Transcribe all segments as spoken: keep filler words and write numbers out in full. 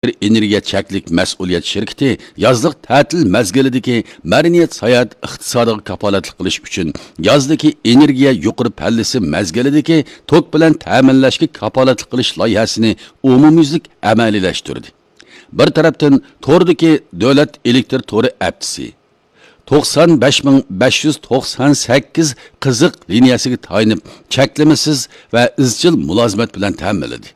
ئېنېرگىيە چەكلىك مەسئۇلىيەت شىركىتى يازلىق تەتىل مەزگىلىدىكى مەدەنىيەت ساياھەت ئىقتىسادىغا كاپالەتلىك قىلىش ئۈچۈن يازدىكى ئېنېرگىيە يۇقىرى پەللىسى مەزگىلىدىكى توك بىلەن تەمىنلەشكە كاپالەتلىك قىلىش لايىھەسىنى ئومۇميۈزلۈك ئەمەلىيلەشتۈردى. بىر تەرەپتىن، توردىكى دۆلەت ئېلېكتر تورى ئەپتىسى، توقسان بەش مىڭ بەش يۈز توقسان سەككىز قىزىق لىنىيەسىگە تايىنىپ، چەكلىمىسىز ۋە ئىزچىل مۇلازىمەت بىلەن تەمىنلىدى.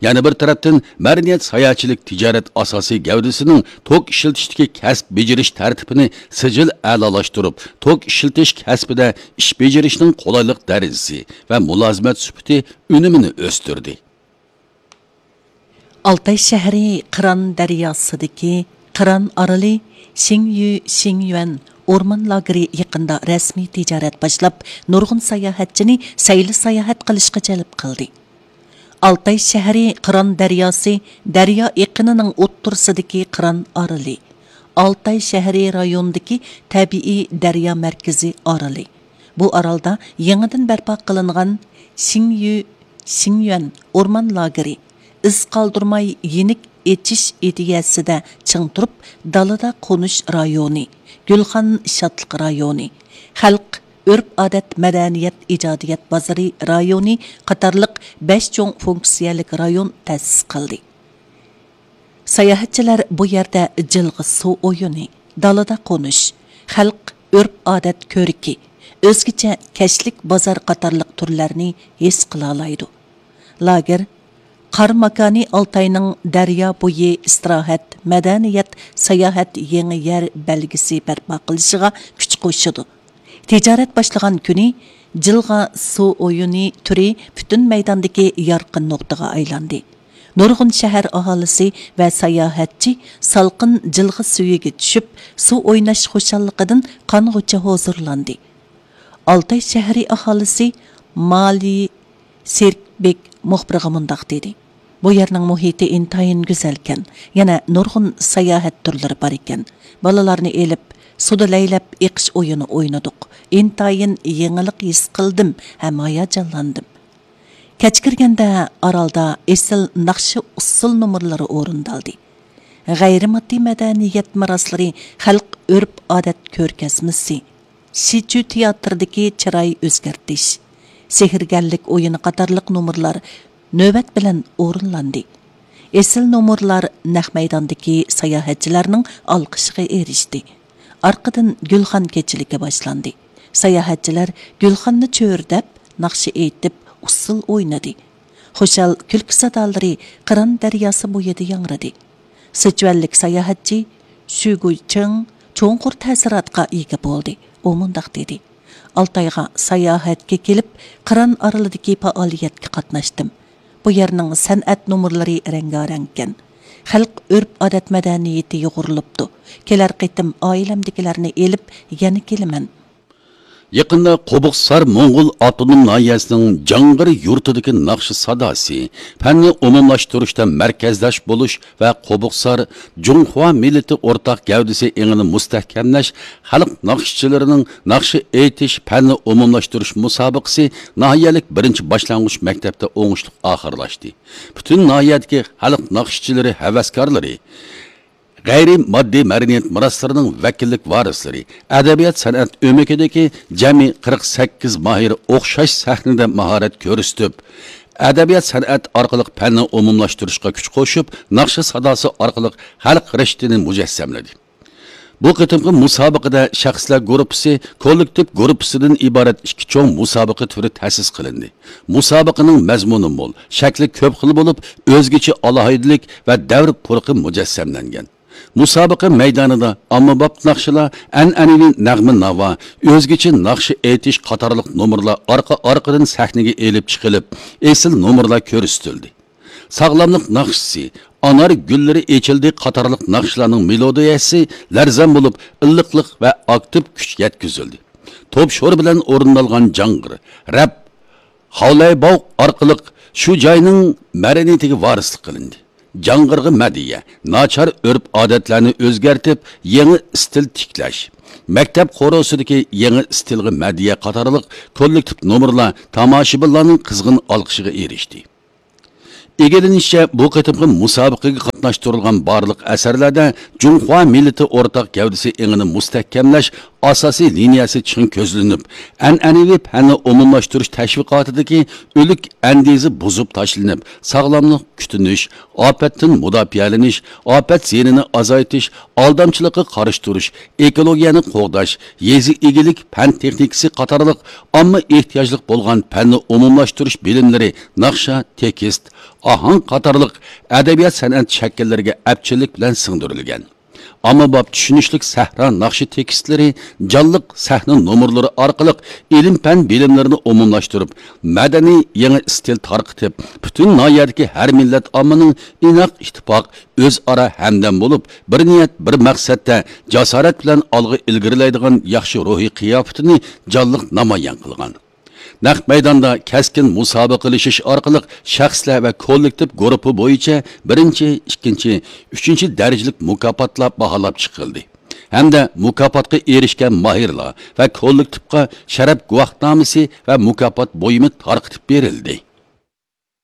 يەنە بىر تەرەپتىن، مەدەنىيەت ساياھەتچىلىك تىجارەت ئاساسىي گەۋدىسىنىڭ توك ئىشلىتىشتىكى كەسىپ بېجىرىش تەرتىپىنى سىجىل ئەلالاشتۇرۇپ، توك ئىشلىتىش كەسپىدە ئىش بېجىرىشنىڭ قولايلىق دەرىجىسى ۋە مۇلازىمەت سۈپىتى ئۈنۈمىنى ئۆستۈردى. ئالتاي شەھىرى قىران دەرياسىدىكى قىران ئارىلى شىڭيۈ شىڭيۈەن ئورمان لاگېرى يېقىندا رەسمىي تىجارەت باشلاپ، نۇرغۇن ساياھەتچىنى سەيلە ساياھەت قىلىشقا جەلپ قىلدى. ئالتاي شەھىرى قىران دەرياسى دەريا ئېقىنىنىڭ ئوتتۇرىسىدىكى قىران ئارىلى، ئالتاي شەھىرى رايونىدىكى تەبىئىي دەريا مەركىزى ئارىلى. بۇ ئارالدا يېڭىدىن بەرپا قىلىنغان شىڭيۈ شىڭيۈەن ئورمان لاگېرى ئىز قالدۇرماي يېنىك ئېچىش ئىدىيەسىدە چىڭ تۇرۇپ، دالىدا قونۇش رايونى، گۈلخان شادلىق رايونى، خەلق ئۆرپ-ئادەت مەدەنىيەت ئىجادىيەت بازىرى رايونى قاتارلىق بەش چوڭ فۇنكسىيەلىك رايون تەسىس قىلدى. ساياھەتچىلەر بۇ يەردە جىلغا سۇ ئويۇنى، دالىدا قونۇش، خەلق ئۆرپ-ئادەت كۆركى، ئۆزگىچە كەچلىك بازار قاتارلىق تۈرلەرنى ھېس قىلالايدۇ. لاگېر قار ماكانى ئالتاينىڭ دەريا بويى ئىستىراھەت، مەدەنىيەت، ساياھەت يېڭى يەر بەلگىسى بەرپا قىلىشىغا كۈچ قوشىدۇ. تىجارەت باشلىغان كۈنى جىلغا سۇ ئويۇنى تۈرى پۈتۈن مەيداندىكى يارقىن نۇقتىغا ئايلاندى. نۇرغۇن شەھەر ئاھالىسى ۋە ساياھەتچى سالقىن جىلغا سۈيىگە چۈشۈپ، سۇ ئويناش خۇشاللىقىدىن قانغۇچە ھۇزۇرلاندى. ئالتاي شەھىرى ئاھالىسى مالى سېركبېك مۇخبىرغا مۇنداق دېدى: «بۇ يەرنىڭ مۇھىتى ئىنتايىن گۈزەلكەن، يەنە نۇرغۇن ساياھەت تۈرلىرى بار ئىكەن. بالىلارنى ئېلىپ، سۇدا لەيلەپ ئېقىش ئويۇنى ئوينىدۇق. ئىنتايىن يېڭىلىق ھېس قىلدىم ھەم ھاياجانلاندىم.» كەچ كىرگەندە ئارالدا ئېسىل ناخشا ئۇسسۇل نومۇرلىرى ئورۇندالدى. غەيرىي ماددىي مەدەنىيەت مىراسلىرى، خەلق ئۆرپ-ئادەت كۆرگەزمىسى، شىچۈ تىياتىرىدىكى چىراي ئۆزگەرتىش، سېھىرگەرلىك ئويۇنى قاتارلىق نومۇرلار نۆۋەت بىلەن ئورۇنلاندى. ئېسىل نومۇرلار نەق مەيداندىكى ساياھەتچىلەرنىڭ ئالقىشىغا ئېرىشتى. ئارقىدىن گۈلخان كېچىلىكى باشلاندى. ساياھەتچىلەر گۈلخاننى چۆرىدەپ، ناخشا ئېيتىپ، ئۇسسۇل ئوينىدى. خۇشال كۈلكە سادالىرى قىران دەرياسى بويىدا ياڭرىدى. سىچۈەنلىك ساياھەتچى شۈگۇچىڭ چوڭقۇر تەسىراتقا ئىگە بولدى. ئۇ مۇنداق دېدى: «ئالتايغا ساياھەتكە كېلىپ، قىران ئارىلىدىكى پائالىيەتكە قاتناشتىم. بۇ يەرنىڭ سەنئەت نومۇرلىرى رەڭگارەڭكەن. خەلق ئۆرپ-ئادەت مەدەنىيىتى يۇغۇرۇلۇپتۇ. كېلەر قېتىم ئائىلەمدىكىلەرنى ئېلىپ يەنە كېلىمەن.» يېقىندا قوبۇقسار موڭغۇل ئاپتونوم ناھىيەسىنىڭ جاڭغىر يۇرتىدىكى ناخشا ساداسى، پەننى ئومۇملاشتۇرۇشتا مەركەزداش بولۇش ۋە قوبۇقسار جۇڭخۇا مىللىتى ئورتاق گەۋدىسى ئېڭىنى مۇستەھكەملەش خەلق ناخشىچىلىرىنىڭ ناخشا ئېيتىش پەننى ئومۇملاشتۇرۇش مۇسابىقىسى ناھىيەلىك بىرىنچى باشلانغۇچ مەكتەپتە ئوڭۇشلۇق ئاخىرلاشتى. پۈتۈن ناھىيەدىكى خەلق ناخشىچىلىرى ھەۋەسكارلىرى، غەيرىي ماددىي مەدەنىيەت مىراسلىرىنىڭ ۋەكىللىك ۋارىسلىرى، ئەدەبىيات-سەنئەت ئۆمىكىدىكى جەمئىي قىرىق سەككىز ماھىر ئوخشاش سەھنىدە ماھارەت كۆرسىتىپ، ئەدەبىيات-سەنئەت ئارقىلىق پەننى ئومۇملاشتۇرۇشقا كۈچ قوشۇپ، ناخشا ساداسى ئارقىلىق خەلق رىشتىنى مۇجەسسەملىدى. بۇ قېتىمقى مۇسابىقىدە شەخسلەر گۇرۇپپىسى، كوللېكتىپ گۇرۇپپىسىدىن ئىبارەت ئىككى چوڭ مۇسابىقە تۈرى تەسىس قىلىندى. مۇسابىقىنىڭ مەزمۇنى مول، شەكلى كۆپ خىل بولۇپ، ئۆزگىچە ئالاھىدىلىك ۋە دەۋر پۇرىقى مۇجەسسەملەنگەن. مۇسابىقە مەيدانىدا ئاممىباب ناخشىلار، ئەنئەنىۋى نەغمە-ناۋا، ئۆزگىچە ناخشا ئېيتىش قاتارلىق نومۇرلار ئارقا-ئارقىدىن سەھنىگە ئېلىپ چىقىلىپ، ئېسىل نومۇرلار كۆرسىتىلدى. ساغلاملىق ناخشىسى، ئانار گۈللىرى ئېچىلدى قاتارلىق ناخشىلارنىڭ مېلودىيەسى لەرزان بولۇپ، ئىللىقلىق ۋە ئاكتىپ كۈچ يەتكۈزۈلدى. توپ شورى بىلەن ئورۇندالغان جاڭغىر، رەپ، خاۋلايباۋ ئارقىلىق شۇ جاينىڭ مەدەنىيىتىگە ۋارىسلىق قىلىندى. جاڭغىرغا مەدھىيە، ناچار ئۆرپ-ئادەتلەرنى ئۆزگەرتىپ، يېڭى ئىستىل تىكلەش، مەكتەپ خورۇسىدىكى يېڭى ئىستىلغا مەدھىيە قاتارلىق كوللېكتىپ نومۇرلار تاماشىبىنلارنىڭ قىزغىن ئالقىشىغا ئېرىشتى. ئىگىلىنىشىچە، بۇ قېتىمقى مۇسابىقىگە قاتناشتۇرۇلغان بارلىق ئەسەرلەردە جۇڭخۇا مىللىتى ئورتاق گەۋدىسى ئېڭىنى مۇستەھكەملەش ئاساسىي لىنىيەسى چىڭ كۆزلىنىپ، ئەنئەنىۋى پەننى ئومۇملاشتۇرۇش تەشۋىقاتىدىكى ئۆلۈك ئەندىزە بۇزۇپ تاشلىنىپ، ساغلاملىق كۈتۈنۈش، ئاپەتتىن مۇداپىئەلىنىش، ئاپەت زىيىنىنى ئازايتىش، ئالدامچىلىققا قارشى تۇرۇش، ئېكولوگىيەنى قوغداش، يېزا ئىگىلىك پەن تېخنىكىسى قاتارلىق ئامما ئېھتىياجلىق بولغان پەننى ئومۇملاشتۇرۇش بىلىملىرى ناخشا، تېكىست، ئاھاڭ قاتارلىق ئەدەبىيات سەنئەت شەكىللىرىگە ئەپچىللىك بىلەن سىڭدۈرۈلگەن. ئاممىباب چۈشىنىشلىك سەھرا ناخشا تېكىستلىرى، جانلىق سەھنە نومۇرلىرى ئارقىلىق ئىلىم-پەن بىلىملىرىنى ئومۇملاشتۇرۇپ، مەدەنىي يېڭى ئىستىل تارقىتىپ، پۈتۈن ناھىيەدىكى ھەر مىللەت ئاممىنىڭ ئىناق، ئىتتىپاق، ئۆزئارا ھەمدەم بولۇپ، بىر نىيەت، بىر مەقسەتتە جاسارەت بىلەن ئالغا ئىلگىرىلەيدىغان ياخشى روھىي قىياپىتىنى جانلىق نامايان قىلغان. نەق مەيداندا كەسكىن مۇسابىقىلىشىش ئارقىلىق شەخسلەر ۋە كوللېكتىپ گۇرۇپپا بويىچە بىرىنچى، ئىككىنچى، ئۈچىنچى دەرىجىلىك مۇكاپاتلار باھالاپ چىقىلدى ھەمدە مۇكاپاتقا ئېرىشكەن ماھىرلار ۋە كوللېكتىپقا شەرەپ گۇۋاھنامىسى ۋە مۇكاپات بۇيۇمى تارقىتىپ بېرىلدى.